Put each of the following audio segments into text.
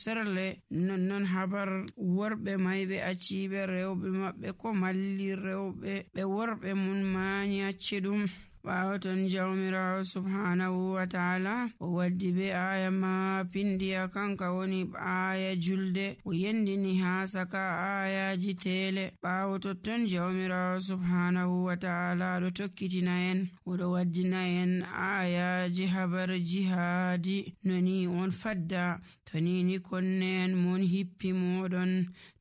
serle nonnon habar worɓe may ɓe acciɓe rewɓe maɓɓe ko malli rewɓe ɓe worɓe mun maani acci ɗum. ɓaawo ton jawmirawo subhanahu wa ta'ala o waddi be aya ma pindiya kanka woni aya julde o yendini ha saka ayaji tele. ɓaawo totton jawmirawo subhanahu wa ta'ala ɗo tokkitina en oɗo waddina en ayaji habar jihadi noni on fadda to ni konne en mon hippi moɗon,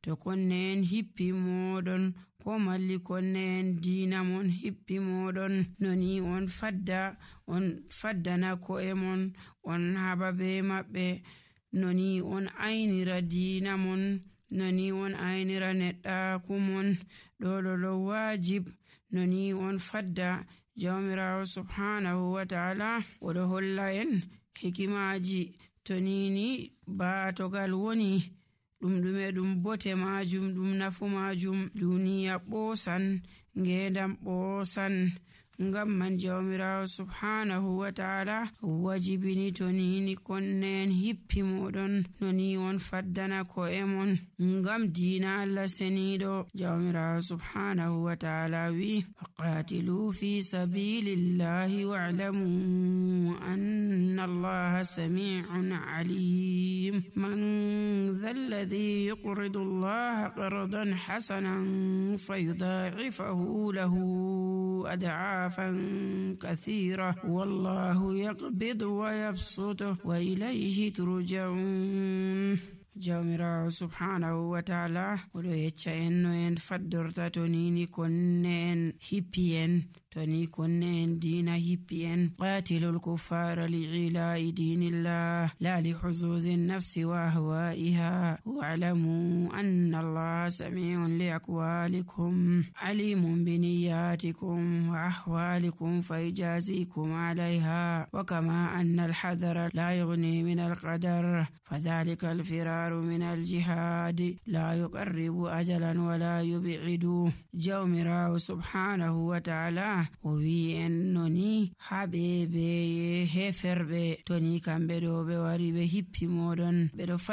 to konne en hippi moɗon ko malli konne en diina mon hippi moɗon, noni on faddana ko'e mon on haba be maɓɓe, noni on aynira diina mon, noni on aynira neɗɗaku mon, ɗo wajib noni on fadda. jawmirawo subhanahu wa ta'ala oɗo holla en hikimaji to ni baatogal woni ɗum ɗum bote majum ɗum nafu majum duniya ɓoosan ngendam ɓoosan. ngam man jawmirawo subhanahu wa ta'ala wajibini to ni konne en hippi moɗon noni on faddana ko'e mon ngam diina Allah seniɗo. jawmirawo subhanahu wa ta'ala wi qatilu fi sabilillahi wa'lamu anna Allaha sami'un alim. man dha alladhi yuqridu Allaha qardan hasanan fayudha'ifahu lahu ad'a كثيرة والله يقبض ويبسط وإليه ترجعون. jawmirawo subhanahu wa ta'ala oɗo yecca en no en faddorta to ni konne en hippi en, to ni konne en diina hippi en. qatilul kuffara li'ila'i dinillah la li huzuzi nafsi wa ahwa'iha wa'lamu anna Allaha sami'un li aqwalikum alimun bi niyyatikum wa ahwalikum fayajazikum 'alayha wa kama anna al-hadara la yughni min al-qadar fadhalika al-firar من الجهاد لا يقرب أجلا ولا يبعد. jawmirawo subhanahu wa ta'ala o wi en noni haɓe be heferɓe to ni kamɓe ɗo ɓe wari ɓe hippi moɗon ɓeɗo